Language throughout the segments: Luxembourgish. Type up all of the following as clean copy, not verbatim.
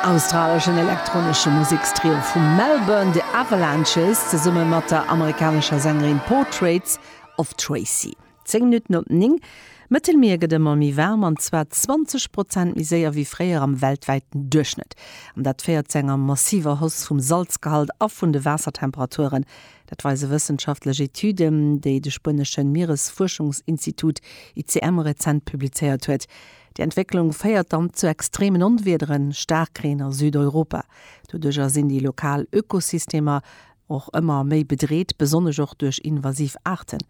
Australeschen elektronesche Musekstrio vu Melbourne, The Avalanches, zesumme mat der amerikanescher Sängerin Portraits of Tracey. 10 Minutten op 9. D'Mëttelmier gëtt ëmmer méi waarm, an zwar 20 Prozent méi séier wéi fréier am weltwäiten Duerchschnëtt. An dat féiert zu enger massiver Hausse vum Salzgehalt a vun de Waassertemperaturen. Dat weise wëssenschaftlech Etüden, déi de spuenesche Mieresfuerschungsinstitut ICM rezent publizéiert huet. Déi Entwécklung féiert dann zu extremen Onwiederen, Staarkreen a Südeuropa. Doduercher sinn déi lokal Ökosystemer och ëmmer méi bedreet, besonnesch och duerch invasiv Aarten.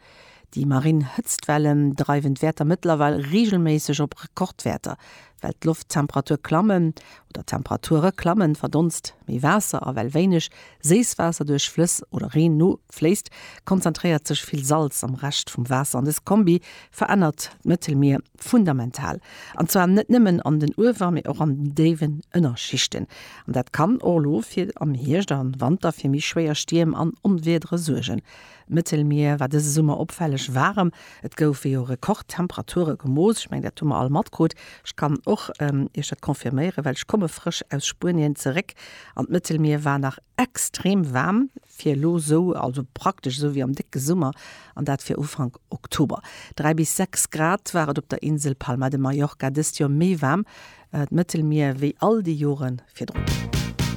Déi marinn Hëtztwellen dreiwen d'Wäerter mëttlerweil reegelméisseg op Rekordwäerter. Well d'Lofttemperatur klammen, oder d'Temperature klammen, verdonst méi Waasser a well wéineg Séisswaasser duerch Flëss oder Reen nofléisst, konzentréiert sech vill Salz am Rescht vum Waasser an dës Kombi verännert d'Mëttelmier fundamental. An zwar net nëmmen an den Uewer-, mee och an den déiwen Ënnerschichten. An dat kann och elo fir am Hierscht a Wanter fir méi schwéier Stierm an Onwiedere suergen. D'Mëttelmier war dëse Summer opfälleg waarem. Et goufe jo Rekordtemperature gemooss. Ech mengen, dat hu mer all matkrut. Ech kann och Iech dat confirméieren, well ech komme frësch aus Spuenien zeréck an d'Mëttelmier war nach extrem waarm fir elo esou, also praktesch esou wéi am décke Summer, an dat fir Ufank Oktober. 3 bis 6 Grad war et op der Insel Palma de Mallorca dëst Joer méi waarm, d'Mëttelmier, wéi all déi Jore virdrun.